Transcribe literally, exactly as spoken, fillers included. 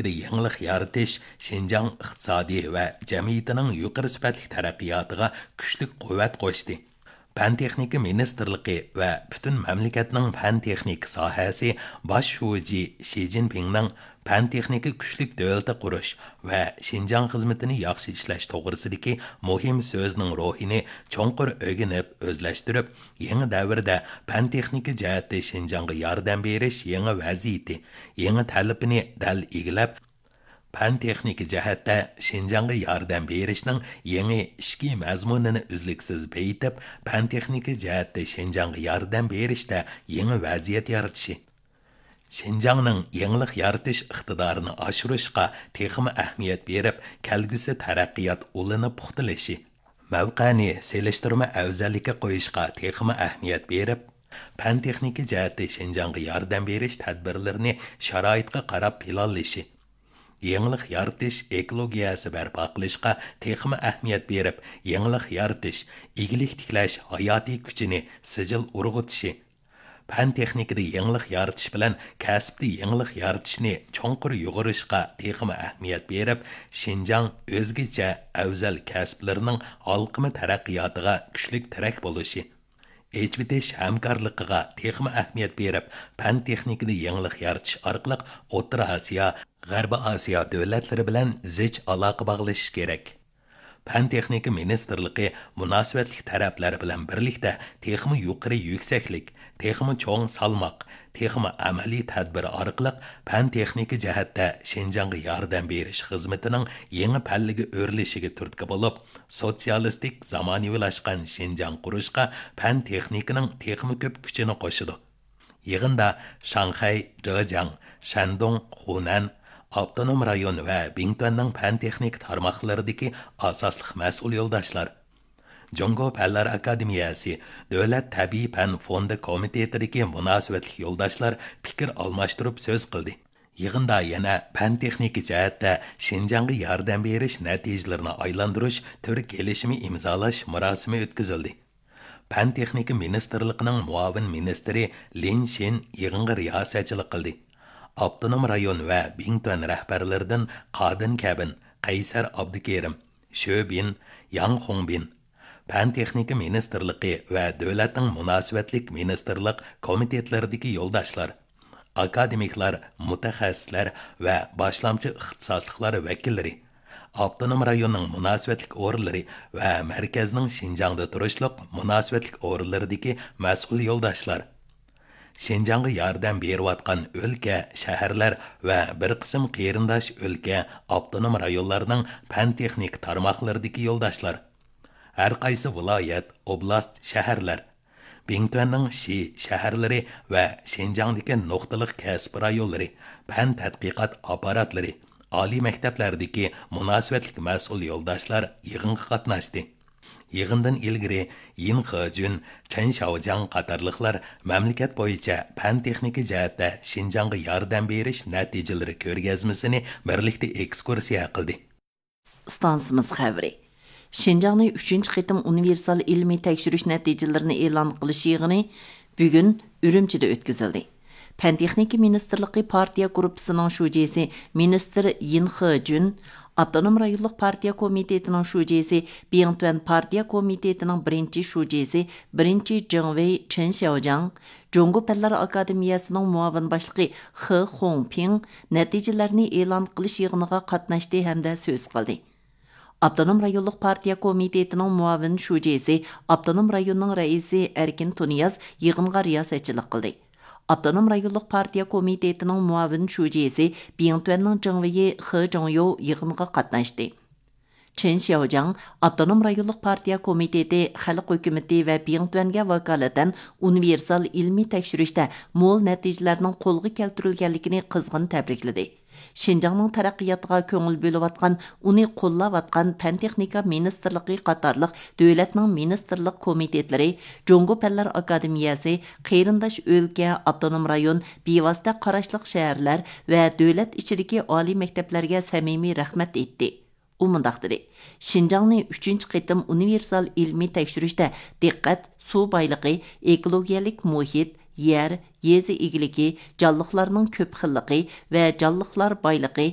يېڭىلىق يارىتىش شىنجاڭ ئىقتىسادى ۋە جەمئىيىتىنىڭ يۇقىرى سۈپەتلىك تەرەققىياتىغا كۈچلۈك قۇۋۋەت قوشتى. پەن تېخنىكا مىنىستىرلىقى ۋە پۈتۈن مەملىكەتنىڭ پەن تېخنىكا ساھەسى باش شۇجى شى جىنپىڭنىڭ پەن تېخنىكا كۈچلۈك دۆلىتى قۇرۇش ۋە شىنجاڭ خىزمىتىنى ياخشى ئىشلەش توغرىسىدىكى مۇھىم سۆزىنىڭ روھىنى چوڭقۇر ئۆگىنىپ، ئۆزلەشتۈرۈپ، يېڭى دەۋردە پەن تېخنىكا جەھەتتە شىنجاڭغا ياردەم بېرىش يېڭى ۋەزىيىتى، يېڭى تەلىپىنى دەل ئىگىلەپ، پەن تېخنىكا جەھەتتە شىنجاڭغا ياردەم بېرىشنىڭ يېڭى ئىچكى مەزمۇنىنى ئۈزلۈكسىز بېيىتىپ، پەن تېخنىكا جەھەتتە شىنجاڭغا ياردەم بېرىشتە يېڭى ۋەزىيەت يارىتىشى، شىنجاڭنىڭ يېڭىلىق يارىتىش ئىقتىدارىنى ئاشۇرۇشقا تېخىمۇ ئەھمىيەت بېرىپ، كەلگۈسى تەرەققىيات ئۇلىنى پۇختىلىشى، مەۋقەنى سېلىشتۇرما ئەۋزەللىككە قويۇشقا تېخىمۇ ئەھمىيەت بېرىپ، پەن تېخنىكا جەھەتتە شىنجاڭغا ياردەم بېرىش تەدبىرلىرىنى شارائىتقا قاراپ پىلانلىشى، يېڭىلىق يارىتىش ئېكولوگىيەسى بەرپا قىلىشقا تېخىمۇ ئەھمىيەت بېرىپ، يېڭىلىق يارىتىش، ئىگىلىك تىكلەش ھاياتىي كۈچىنى سىجىل ئۇرغۇتۇشى، پەن تېخنىكىدا يېڭىلىق يارىتىش بىلەن كەسىپتە يېڭىلىق يارىتىشنى چوڭقۇر يۇغۇرۇشقا تېخىمۇ ئەھمىيەت بېرىپ، شىنجاڭ ئۆزگىچە ئەۋزەل كەسىپلىرىنىڭ ھالقىما تەرەققىياتىغا كۈچلۈك تىرەك بولۇشى، ئېچىۋېتىش ھەمكارلىقىغا تېخىمۇ ئەھمىيەت بېرىپ، پەن تېخنىكىدا يېڭىلىق يارىتىش ئارقىلىق ئوتتۇرا ئاسىيا، غەربىي ئاسىيا دۆلەتلىرى بىلەن زىچ ئالاقە باغلىشىش كېرەك. پەن تېخنىكا مىنىستىرلىقى مۇناسىۋەتلىك تەرەپلەر بىلەن بىرلىكتە تېخىمۇ يۇقىرى يۈكسەكلىك، تېخىمۇ چوڭ سالماق، تېخىمۇ ئەمەلىي تەدبىر ئارقىلىق پەن تېخنىكا جەھەتتە شىنجاڭغا ياردەم بېرىش خىزمىتىنىڭ يېڭى پەللىگە ئۆرلىشىگە تۈرتكە بولۇپ، سوتسىيالىستىك زامانىۋىلاشقان شىنجاڭ قۇرۇشقا پەن تېخنىكىنىڭ تېخىمۇ كۆپ كۈچىنى قوشىدۇ. يىغىندا شاڭخەي، جېجياڭ، شەندۇڭ، خۇنەن، ئاپتونوم رايون ۋە بىڭتۈەننىڭ پەن تېخنىكا تارماقلىرىدىكى ئاساسلىق مەسئۇل يولداشلار، جۇڭگو پەنلەر ئاكادېمىيەسى دۆلەت تەبىئىي پەن فوندى كومىتېتىدىكى مۇناسىۋەتلىك يولداشلار پىكىر ئالماشتۇرۇپ سۆز قىلدى. يىغىندا يەنە پەن تېخنىكا جەھەتتە شىنجاڭغا ياردەم بېرىش نەتىجىلىرىنى ئايلاندۇرۇش تۈر كېلىشىمى ئىمزالاش مۇراسىمى ئۆتكۈزۈلدى. پەن تېخنىكا مىنىستىرلىقىنىڭ مۇئاۋىن مىنىستىرى لىن شىن يىغىنغا رىياسەتچىلىك قىلدى. ئاپتونوم رايون ۋە بىڭتۈەن رەھبەرلىرىدىن قادىن كەبىن، قەيسەر ئابدۇكېرىم، شۆ بىن، ياڭ خۇڭبىن، پەن تېخنىكا مىنىستىرلىقى ۋە دۆلەتنىڭ مۇناسىۋەتلىك مىنىستىرلىق كومىتېتلىرىدىكى يولداشلار، ئاكادېمىكلار، مۇتەخەسسىسلەر ۋە باشلامچى ئىختىساسلىقلار ۋەكىللىرى، ئاپتونوم رايوننىڭ مۇناسىۋەتلىك ئورۇنلىرى ۋە مەركەزنىڭ شىنجاڭدا تۇرۇشلۇق مۇناسىۋەتلىك ئورۇنلىرىدىكى مەسئۇل يولداشلار، شىنجاڭغا ياردەم بېرىۋاتقان ئۆلكە، شەھەرلەر ۋە بىر قىسىم قېرىنداش ئۆلكە، ئاپتونوم رايونلارنىڭ پەن تېخنىكا تارماقلىرىدىكى يولداشلار، ھەر قايسى ۋىلايەت، ئوبلاست، شەھەرلەر، بىڭتۈەننىڭ شى شەھەرلىرى ۋە شىنجاڭدىكى نۇقتىلىق كەسىپ رايونلىرى، پەن تەتقىقات ئاپپاراتلىرى، ئالىي مەكتەپلەردىكى مۇناسىۋەتلىك مەسئۇل يولداشلار يىغىنغا قاتناشتى. يىغىندىن ئىلگىرى يىن خېجۈن، چېن شياۋجياڭ قاتارلىقلار مەملىكەت بويىچە پەن تېخنىكا جەھەتتە شىنجاڭغا ياردەم بېرىش نەتىجىلىرى كۆرگەزمىسىنى بىرلىكتە ئېكسكۇرسىيە قىلدى. ئىستانسىمىز خەۋىرى. شىنجاڭنى ئۈچىنچى قېتىم ئۇنىۋېرسال ئىلمىي تەكشۈرۈش نەتىجىلىرىنى ئېلان قىلىش يىغىنى بۈگۈن ئۈرۈمچىدە ئۆتكۈزۈلدى. پەن تېخنىكا مىنىستىرلىقى پارتىيە گۇرۇپپىسىنىڭ شۇجىسى مىنىستىر يىن خېجۈن، ئاپتونوم رايونلۇق پارتىيە كومىتېتىنىڭ شۇجىسى، بىڭتۈەن پارتىيە كومىتېتىنىڭ بىرىنچى شۇجىسى، بىرىنچى جېڭۋېي چېن شياۋجياڭ، جۇڭگو پەنلەر ئاكادېمىيەسىنىڭ مۇئاۋىن باشلىقى خې خۇڭپىڭ نەتىجىلەرنى ئېلان قىلىش يىغىنىغا قاتناشتى ھەمدە سۆز قىلدى. ئاپتونوم رايونلۇق پارتىيە كومىتېتىنىڭ مۇئاۋىن شۇجىسى، ئاپتونوم رايوننىڭ رەئىسى ئەركىن تۇنىياز يىغىنغا رىياسەتچىلىك قىلدى. ئاپتونوم رايونلۇق پارتىيە كومىتېتىنىڭ مۇئاۋىن شۇجىسى، بىڭتۈەننىڭ جېڭۋېيى خې جۇڭيو يىغىنغا قاتناشتى. چېن شياۋجياڭ ئاپتونوم رايونلۇق پارتىيە كومىتېتى، خەلق ھۆكۈمىتى ۋە بىڭتۈەنگە ۋاكالىتەن ئۇنىۋېرسال ئىلمىي تەكشۈرۈشتە مول نەتىجىلەرنىڭ قولغا كەلتۈرۈلگەنلىكىنى قىزغىن تەبرىكلىدى. شىنجاڭنىڭ تەرەققىياتىغا كۆڭۈل بۆلۈۋاتقان، ئۇنى قوللاۋاتقان پەن تېخنىكا مىنىستىرلىقى قاتارلىق دۆلەتنىڭ مىنىستىرلىق كومىتېتلىرى، جۇڭگو پەنلەر ئاكادېمىيەسى، قېرىنداش ئۆلكە، ئاپتونوم رايون، بىۋاسىتە قاراشلىق شەھەرلەر ۋە دۆلەت ئىچىدىكى ئالىي مەكتەپلەرگە سەمىمىي رەھمەت ئېيتتى. ئۇ مۇنداق دېدى، شىنجاڭنى ئۈچىنچى قېتىم ئۇنىۋېرسال ئىلمىي تەكشۈرۈشتە دىققەت سۇ بايلىقى، ئېكولوگىيەلىك مۇھىت، يەر، يېزا ئىگىلىكى، جانلىقلارنىڭ كۆپ خىللىقى ۋە جانلىقلار بايلىقى